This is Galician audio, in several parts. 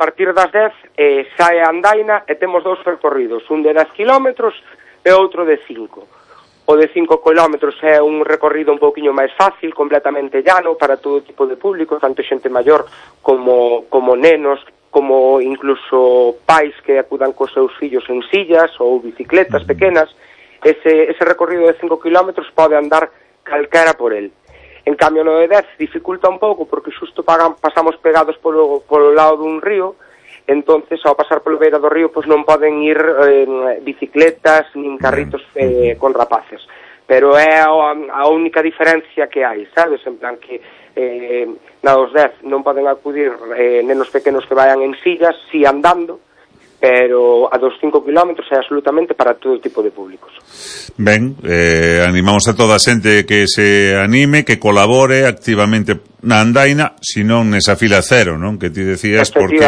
partir das 10 sae a andaina e temos 2 percorridos, un de 10 kilómetros e outro de 5. O de 5 kilómetros é un recorrido un pouquiño máis fácil, completamente llano para todo tipo de público, tanto xente maior como nenos, como incluso pais que acudan cos seus fillos en sillas ou bicicletas pequenas. Ese recorrido de 5 kilómetros pode andar calquera por el. En cambio, no de 10 dificulta un pouco porque xusto pasamos pegados polo lado dun río, entonces ao pasar polo beira do río pois non poden ir bicicletas nin carritos con rapaces. Pero é a única diferencia que hai, sabes? En plan que na dos 10 non poden acudir nenos pequenos que vayan en sillas, si andando, pero a dos 5 kilómetros é absolutamente para todo tipo de públicos. Ben, animamos a toda a xente que se anime, que colabore activamente na andaina, senón nesa fila cero, non? Que ti decías, porque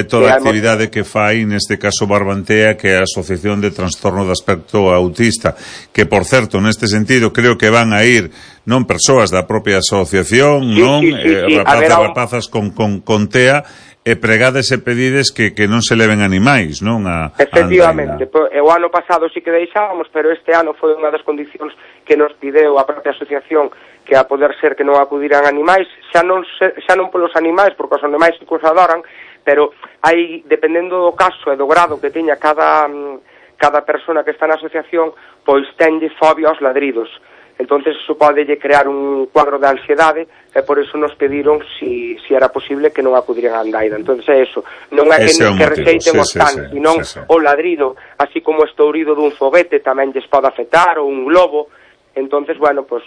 toda a actividade que fai, neste caso Barbantea, que é a Asociación de Trastorno de Aspecto Autista, que, por certo, neste sentido, creo que van a ir non persoas da propia asociación, non? Rapazas con TEA, e pregades e pedides que non se leven animais, non? Efectivamente, o ano pasado sí que deixábamos, pero este ano foi unha das condicións que nos pideu a propia asociación, que a poder ser que non acudiran animais, xa non polos animais, porque os animais que os adoran, pero hai, dependendo do caso e do grado que teña cada persona que está na asociación, pois tenlle fobia aos ladridos. Entonces eso pode crear un cuadro de ansiedade e por eso nos pediron si era posible que non acudiran a andaina. Entonces é eso, non é que receiten os cans, senón o ladrido, así como o estourido dun foguete tamén lles pode afectar, ou un globo. Entonces, bueno, pues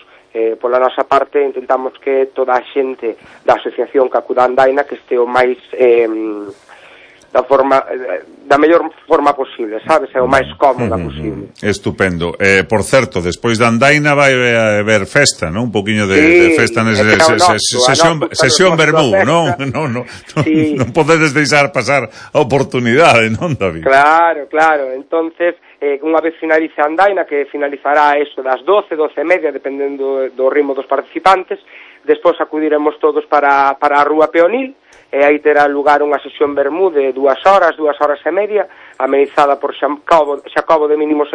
pola nosa parte intentamos que toda a xente da asociación que acuda a andaina que este o máis da mellor forma posible, sabes? É o máis cómoda posible. Estupendo. Por certo, despois da andaina vai haber festa, non? Un poquinho de festa nese sesión vermú, non? Non podedes deixar pasar a oportunidade, non, David? Claro. Entonces, unha vez finalice a andaina, que finalizará eso das 12:30, dependendo do ritmo dos participantes, despois acudiremos todos para a Rúa Peonil, e aí terá lugar unha sesión vermú de 2 horas e media, amenizada por Xacobo de Mínimo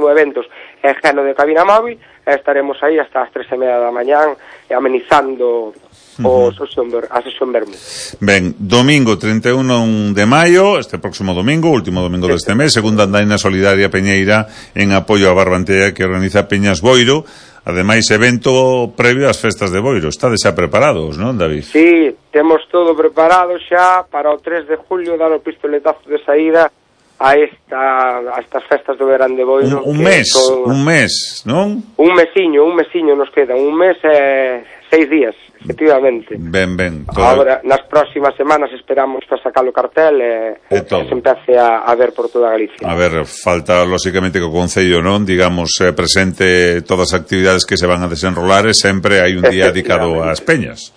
Eventos e Geno de Cabina Móvil, e estaremos aí hasta as 3:30 da mañán amenizando a sesión vermú. Ben, domingo 31 de maio, este próximo domingo, último domingo deste mes, segunda andaina solidaria Peñeira en apoio a Barbantea, que organiza Peñas Boiro. Ademais, evento previo ás festas de Boiro. Estades xa preparados, non, David? Sí, temos todo preparado xa para o 3 de julio dar o pistoletazo de saída a estas festas do verán de Boiro. Un mes, non? Un mesiño nos queda. Un mes e 6 días, efectivamente. Ben. Agora, nas próximas semanas esperamos para sacar o cartel e que se empece a ver por toda Galicia. A ver, falta, lóxicamente, que o Concello, non, digamos, presente todas as actividades que se van a desenrolar e sempre hai un día dedicado ás peñas.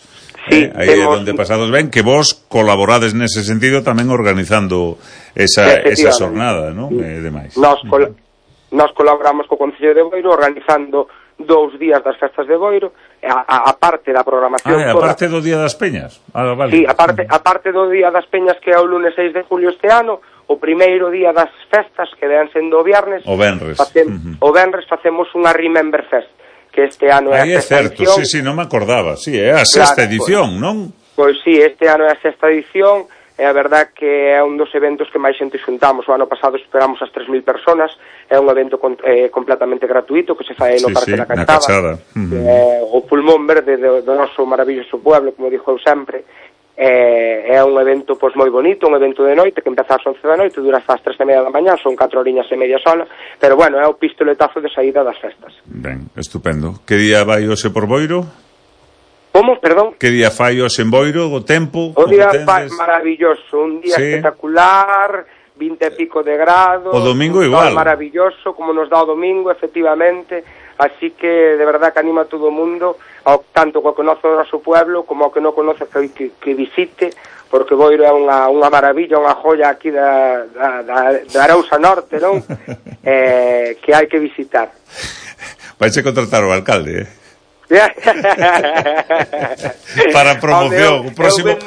Sí, aí é onde pasados ben, que vos colaborades nese sentido tamén organizando esa xornada, non? E demais. Nos colaboramos co Concello de Boiro organizando 2 días das festas de Boiro, a parte da programación toda. A parte do Día das Peñas? Vale. Sí, a parte do Día das Peñas, que é o lunes 6 de julio este ano, o primeiro día das festas, que dean sendo o viernes, o venres facemos unha Remember Fest, que este ano é a sexta edición. Sí, non me acordaba, é a sexta edición, non? Pois sí, este ano é a sexta edición, e a verdad que é un dos eventos que máis xente xuntamos. O ano pasado esperamos as 3.000 personas, é un evento completamente gratuito que se fai no Parque da Cachada, o pulmón verde do noso maravilloso pueblo, como dixo eu sempre. É un evento pois moi bonito, un evento de noite que empeza ás 11 da noite, dura hasta as 3:30 da mañá, son 4 horiñas e media sola, pero bueno, é o pistoletazo de saída das festas. Ben, estupendo. Que día vai hoxe por Boiro? Como, perdón? Que día fai hoxe en Boiro, o tempo? O día fai maravilloso, un día espectacular, 20 e pico de grados. O domingo igual. Maravilloso, como nos dá o domingo, efectivamente. Así que, de verdad, que anima a todo o mundo, tanto que conoce o noso pueblo, como o que non conoce que visite, porque Boiro é unha maravilla, unha joya aquí da Arousa Norte, non? Que hai que visitar. Vais a contratar o alcalde, Para promoción. O próximo,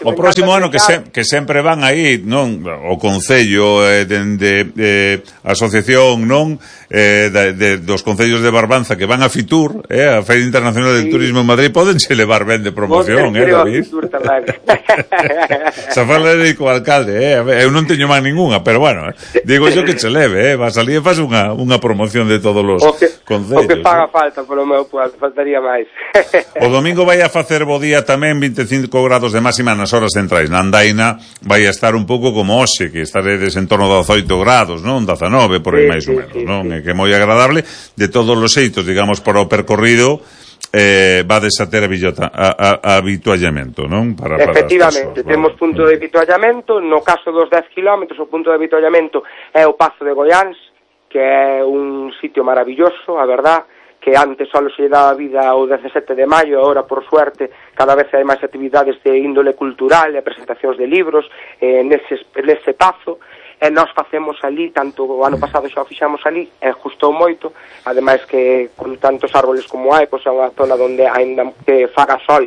o próximo ano que sempre van aí, non, o Concello de asociación, non, dos concellos de Barbanza que van a Fitur, a Feira Internacional del Turismo en Madrid, pódense levar ben de promoción, David. Se fala de co alcalde, eu non teño máis ninguna, pero bueno, digo yo que se leve, va a salir e faz unha promoción de todos os concellos. O que faga falta polo meu pueblo, faltaría máis. O domingo vai a facer bo día tamén, 25 grados de máxima nas horas centrais. Na Andaina vai a estar un pouco como hoxe, que estaredes en torno a 18 grados, non? 19, por aí máis ou menos, non? Que é moi agradable. De todos os xeitos, digamos, para o percorrido, vades a ter habituallamento, non? Efectivamente, temos punto de habituallamento. No caso dos 10 km, o punto de habituallamento é o Pazo de Goiáns, que é un sitio maravilloso, a verdad, que antes só se lle daba vida ao 17 de maio, agora, por suerte, cada vez hai máis actividades de índole cultural e presentacións de libros nese pazo, e nós facemos ali, tanto o ano pasado xa o fixamos ali, e gustou moito, ademais que con tantos árboles como hai, pois é unha zona onde ainda que faga sol,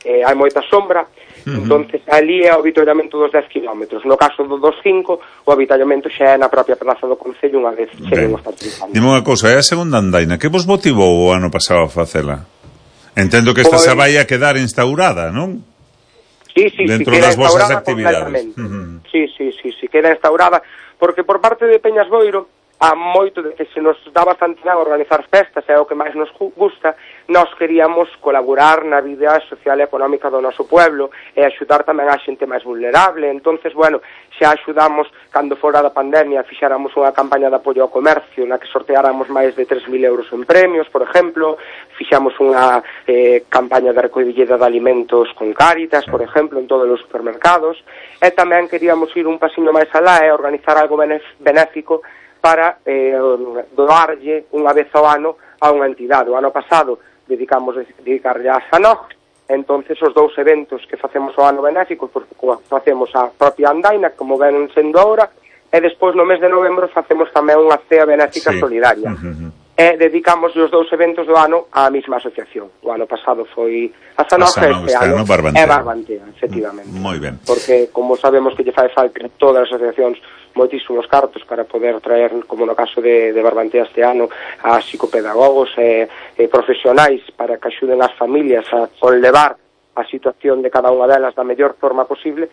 hai moita sombra. Entonces ali é o avituallamento dos 10 km. No caso dos 5, o avituallamento xa é na propia praza do Concello unha vez cheguemos participando. Dime unha cousa, é a segunda andaina, que vos motivou o ano pasado a facela? Entendo que esta se vai a quedar instaurada, non? Sí, dentro das vosas actividades. Sí, queda instaurada, porque por parte de Peñas Boiro, a moito de que se nos dá bastante ben organizar festas, é o que máis nos gusta, nós queríamos colaborar na vida social e económica do noso pueblo e axudar tamén a xente máis vulnerable. Entonces, bueno, xa axudamos, cando fora da pandemia, fixáramos unha campaña de apoio ao comercio na que sorteáramos máis de 3.000 euros en premios, por exemplo, fixamos unha campaña de recollida de alimentos con Cáritas, por exemplo, en todos os supermercados, e tamén queríamos ir un pasiño máis alá e organizar algo benéfico para doarlle unha vez ao ano a unha entidade. O ano pasado dedicarlle a Sanoch, entonces os dous eventos que facemos ao ano benéfico, porque facemos a propia andaina, como ven sendo ahora, e despois no mes de novembro facemos tamén unha cea benéfica solidaria. E dedicamos os dous eventos do ano á mesma asociación. O ano pasado foi a Sanoch, este ano é Barbantea, efectivamente. Moi ben. Porque, como sabemos que lle fai falta todas as asociacións moitísimos cartos para poder traer, como no caso de Barbantea este ano, a psicopedagogos e profesionais para que axuden as familias a conlevar a situación de cada unha delas da mellor forma posible,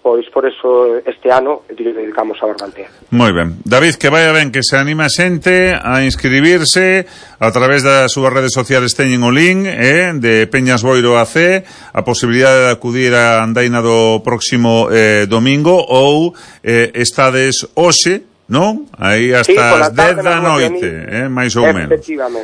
pois por eso este ano dedicamos a Barbantea. Moi ben. David, que vaya ben, que se anima a xente a inscribirse a través das súas redes sociales, teñen o link de Peñas Boiro AC, a posibilidade de acudir a andaina do próximo domingo, ou estades hoxe, non? Aí hasta as 10 da noite, máis ou menos.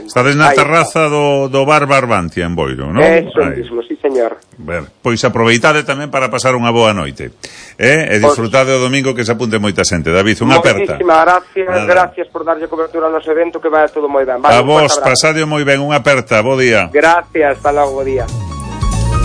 Estades na terraza do bar Barbantia en Boiro, non? Eso mismo, sí, señor. Ben, pois aproveitade tamén para pasar unha boa noite. E disfrutade o domingo, que se apunte moita xente. David, unha aperta. Moitísimas gracias por darlle cobertura ao noso evento, que vai todo moi ben. A vos, pasade moi ben, unha aperta, bo día. Gracias, hasta logo, bo día.